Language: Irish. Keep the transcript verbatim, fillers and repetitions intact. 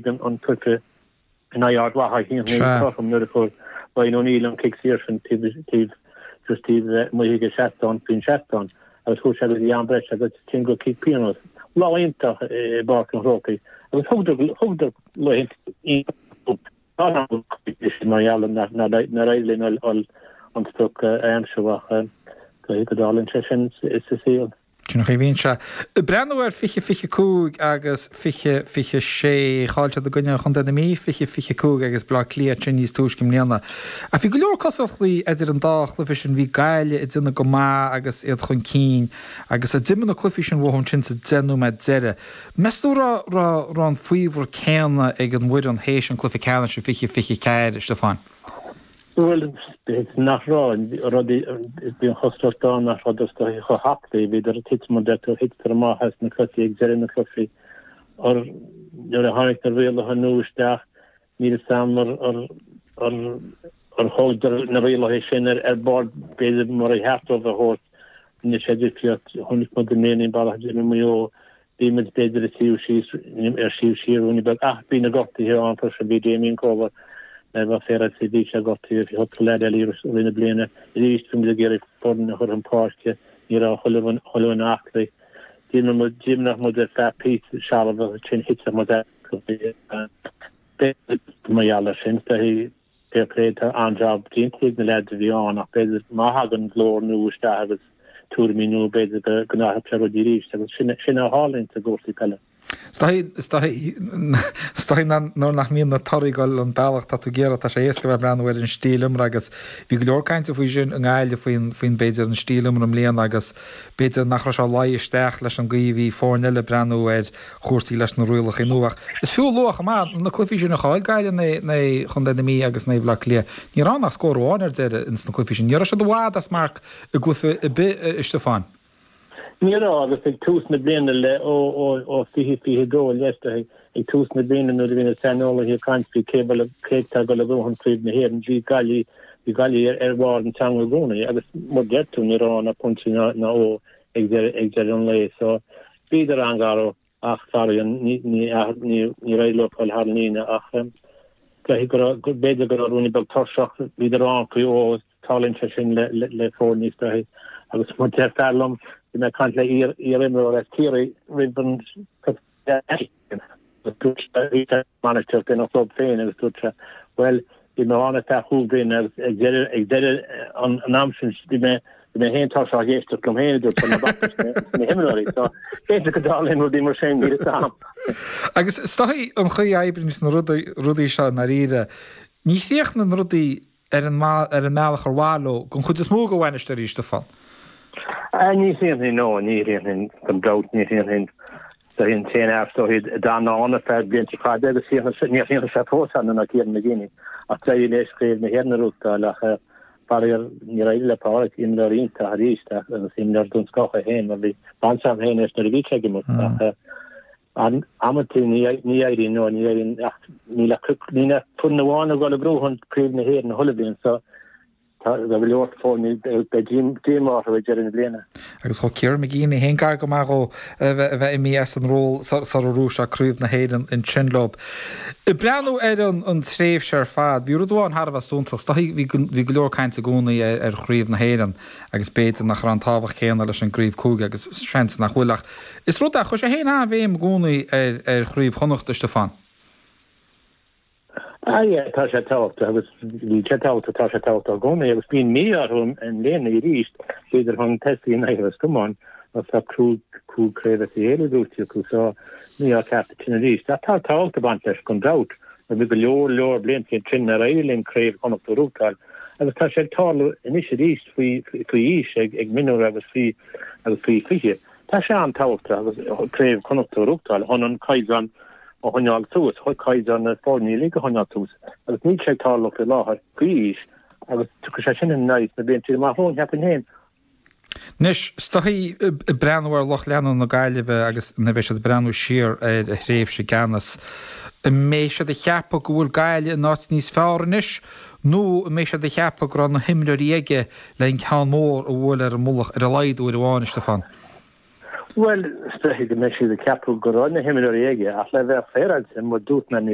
tríd an cluiche in aghaidh Ard Mhacha a haon naoi cothrom nuair a fuair Ryan O'Neill an cic saor sin taobh just taobh amuigh den seastán faoin seastán agus chuaigh sé go dtí am breise agus ansin go cic pionóis. Lá iontach i bPáirc an Chrócaigh agus thugadar laethanta mar gheall nár éirigh linn an sprioc a aimsiú ach go dtarlaíonn sé sin sa saol. Sin an chaoi a bhíonn sé. Breathnú ar fiche fiche cúig agus fiche fiche sé. Chaill siad i gcoinne Chontae na Mí, fiche fiche cúig agus Bleá Cliath ansin níos túisce i mbliana. Ach bhí go leor cosúlachtaí idir an dá chluiche sin. Bhí Gaillimh ag déanamh go maith agus iad chun cinn agus d'imigh na cluichí sin uathu ansin sa deich nóiméad deiridh. Meas tú raibh raibh an faobhar céanna ag an bhfoireann théis an cluiche ceannais i fiche fiche ceathair, a Stiofáin? Bhuel, nach raibh, rudaí, bhí an chosúlacht ann nach rabhadar chomh haclaí, bhíodar ag titim an deirtear, thiteadar amach as na cluichí ag deireadh na cluichí. Or nuair a tháinig na rialacha nua isteach, níl a fhios agam ar ar ar ar thógadar na rialacha sin ar ar bord b'fhéidir mar a cheart dóibh a thabhairt. Rinne sé difríocht. Chonaic muid i mbliana an bealach a d'imir Maigh Eo Bhí muid b'fhéidir ag suí síos, ar suí siar ruainne beag ach bhí na gortuithe ann freisin, bhí Damien Comer, le bheith féaráilte, bhí sé gortaithe, bhí cúpla leaid eile i rith na bliana. Arís bhí muid ag iarraidh foireann a chur chun páirce, ní raibh chuile dhuine aclaí. D'imir muid, d'imir muid ar feadh píosa searbh agus ansin thit muid as. B'fhéidir mar gheall air sin, fair play, tá an-jab déanta ag na leaids a bhí ann ach b'fhéidir má thagann glór nua isteach agus tuairimí nua b'fhéidir go n-athródh sé rudaí arís agus sin sin a tharlaíonn i gcúrsaí peile. Is dóigh nuair nach mbíonn na torthaí ag dul an bealach tá tú ag iarraidh, tá sé éasca bheith ag breathnú ar an stíl imeartha agus bhí go leor cainte faoi sin i nGaillimh faoin faoin b'fhéidir an stíl imeartha i mbliana agus b'fhéidir nach raibh sé ag luí isteach leis an gcaoi a bhí foirne eile ag breathnú ar chúrsaí leis na rialacha nua ach is fiú a lua chomh maith na cluichí sin a chaill Gaillimh in aghaidh Chontae na Mí agus in aghaidh Bhaile Átha Cliath. Ní raibh ann ach scór amháin ar deireadh ins na cluichí sin. Ní raibh siad i bhfad as marc i gcluiche ar bith, a Stiofáin. Ní raibh agus ag tús na bliana le ó ó ó fiche fiche dó i leith ag tús na bliana nuair a bhí na saineolaithe ag caint faoi cé bhfuil cé atá ag dul a bhuachan Craobh na hÉireann bhí Gaillimh bhí Gaillimh ar ar bharr an teanga i gcónaí agus mar deir tú ní raibh ann ach pointe ná ná ó ag deireadh ag deireadh an lae so bhíodar an-ghar ach faraor ní ní ní níor éirigh leo fáil thar an líne ach caithfidh go raibh b'fhéidir go raibh ruainne beag tuirseach bhíodar ann faoi ó tarlaíonn sé sin le le le foirne is dóichí agus mar deir fear liom bhí mé ag caint le iar iarimreoir as Ciarraí roimh an dúirt sé bhí sé bainisteoir ina chlub féin agus dúirt sé bhuel bhí mé ann ar feadh chúig bliana agus ag deireadh ag deireadh an an am sin bhí mé bhí mé féin tuirseach ag éisteacht liom féin a dúirt sé na na himreoirí so b'fhéidir go dtarlaíonn rudaí mar sin níl a fhios agam. Agus is dóichí an chaoi a oibríonn na rudaí rudaí seo i ndáiríre ní chríochnaíonn rudaí ar an ar an mbealach ar mhaith leo don chuid is mó de bhainisteoirí Stiofán. Ní chríochnaíonn no ní chríochnaíonn gan dabht ní chríochnaíonn Tá an t-aon fhear is dóichí a d'fhan ann ar feadh blianta fada agus níor chríochnaigh sé fós ann ná Kieran McGeeney ach d'éirigh leis Craobh na hÉireann a ghnóthachtáil ach faraor níor éirigh le Pádraic, imreoir iontach arís agus imreoir den scoth é féin mar bhí baint agam féin leis nuair a bhí sé ag imirt ach amantaí ní éiríonn nó ní éiríonn ach níl ach níl ach foireann amháin ag dul ag gnóthú Craobh na hÉireann chuile bhliain so Tá go leor foirne, beidh díomá orthu ag deireadh na bliana. Agus chuaigh Kieran McGeeney féin gar go maith dhó a bheith imithe as an ról sara ghnóthaigh sé Craobh na hÉireann ansin leo. Ag breathnú ar an tréimhse ar fad, bhí rud amháin thar a bheith suntasach. Is dóichí bhí bhí go leor cainte i gcónaí ar Chraobh na hÉireann agus b'fhéidir nach raibh an tábhacht céanna leis an gcraobh cúige agus seans nach bhfuil ach is rud é, chuir sé féin an-bhéim i gcónaí ar ar Chraobh Chonnacht, a Stiofáin. Ah yeah, tá sé tábhachtach agus bhí sé tábhachtach, tá sé tábhachtach i gcónaí agus bíonn mí-ádh orthu i mbliana arís, bhíodar chun tosaigh in aghaidh Ros Comáin agus tá cúig cúig craobh as a chéile buaite acu so mí-ádh ceart ansin arís. Ach tá tábhacht ag baint leis gan dabht mar bhí go leor leor blianta ansin nár éirigh linn craobh Chonnacht a ghnóthachtáil agus tá sé ag tarlú anois arís faoi faoi aois ag ag mionúir agus faoi agus faoi fiche. Tá sé an-tábhachtach agus craobh Chonnacht a ghnóthachtáil chun an caighdeán a choinneáil suas, caighdeán na foirne uilig a choinneáil suas agus níl sé ag tarlú faoi láthair, faoi aois, agus tiocfaidh sé sin ina n-aghaidh sna blianta amach romhainn, cheapfainn féin. Anois, is dóichí, ag breathnú ar lucht leanúna na Gaillimhe agus nuair a bheidh siad ag breathnú siar ar a thréimhse i gceannas, an mbeidh siad ag ceapadh go bhfuil Gaillimh in áit níos fearr anois nó an mbeidh siad ag ceapadh go raibh na himreoirí aige le an ceann mór a bhualadh ar an mullach ar a laghad uair amháin, a Stiofáin? Bhuel, is dóichí go mbeidh siad ag ceapadh go raibh na himreoirí aige ach le bheith féaráilte, mar dúirt mé níos